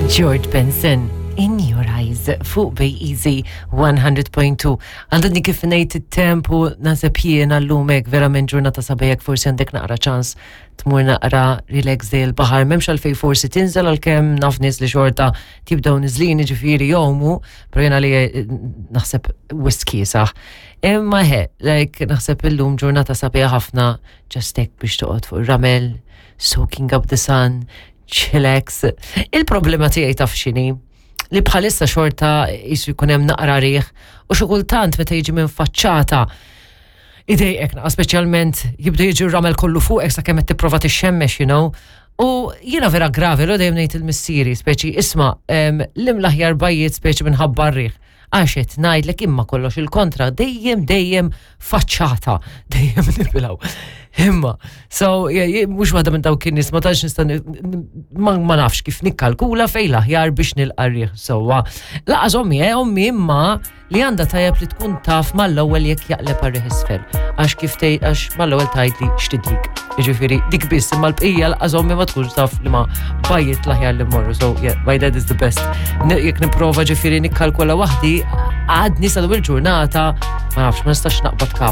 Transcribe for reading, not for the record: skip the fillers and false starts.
George Benson, In Your Eyes, fuq Bay Easy 100.2. Għandadni kif ngħid it-tempu naħseb jiena llum hekk verament ġurnata sabejek forsi għandek naqra ċans tmur naqra relax dej il-baħar, m'hemmx għalfej forsi tinżel għalkemm naf nies li xorta tibdew niżlin ġifieri jomu, però jiena li eh, naħseb wisq kiesaħ. Imma he, like naħseb illum ġurnata sabiħa ħafna just hekk biex toqgħod fuq ir-ramel, soaking up the sun, chillax. Il-problema tiegħi taf x'inhi li bħalissa xorta jisu jkun hemm naqra riħ u xi kultant meta jiġi minn faċċata idejqek naqa' speċjalment jibda jiġi r-ramel kollu fuqek sakemm qed tipprova tixxemmex, you know. U jiena vera gravi, l dejjem ngħid il-missieri, speċi isma' l aħjar bajjiet speċi minħabba r-riħ. Għax qed ngħidlek imma kollox il-kontra, dejjem dejjem faċċata, dejjem nibilgħu. Imma, so, mhux waħda minn dawk in-nies ma tantx nista' ma nafx kif nikkalkula fejn l-aħjar biex nilqa' r-riħ sewwa. Laqas ommi, eh, ommi imma li għandha tajjeb li tkun taf mal-ewwel jekk jaqleb għar-riħ isfel. Għax kif tgħid għax mal-ewwel tgħidli x'tidlik. Jiġifieri dik biss imma l-bqija laqas ommi ma tkunx taf li ma bajjiet l-aħjar li mmorru. So yeah, my dad is the best. Jekk nipprova ġifieri nikkalkula waħdi, għadni sal il-ġurnata ma nafx ma nistax naqbad kap.